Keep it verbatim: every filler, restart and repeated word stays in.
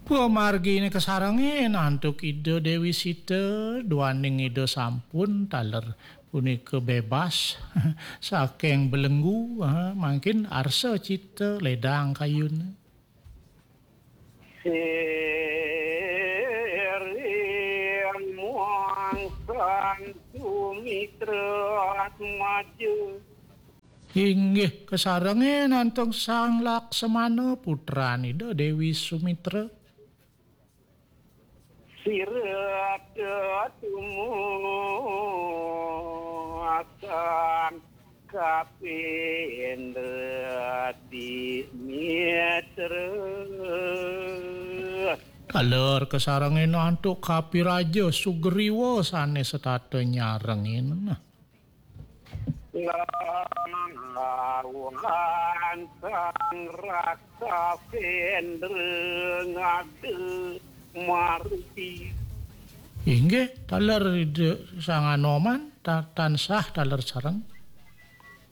Pamargine kasarengin antuk Ida Dewi Sita, duaning Ida sampun taler punika bebas saking belenggu, ha, mangkin arsa cita ledang kayun. Siring muang Sang Sumitra Atmaja. Inggih, kasarengin antuk Sang Laksamana, putran Ida Dewi Sumitra. Sira tetumuakan kapindra di mitra. Taler kasarengin antuk Kapiraja Sugriwa sane setata nyarengin. Lawan Sang Raksa Sendra ngada maruti. Inggih, taler Ida Sang Anoman ta-, tansah taler sareng.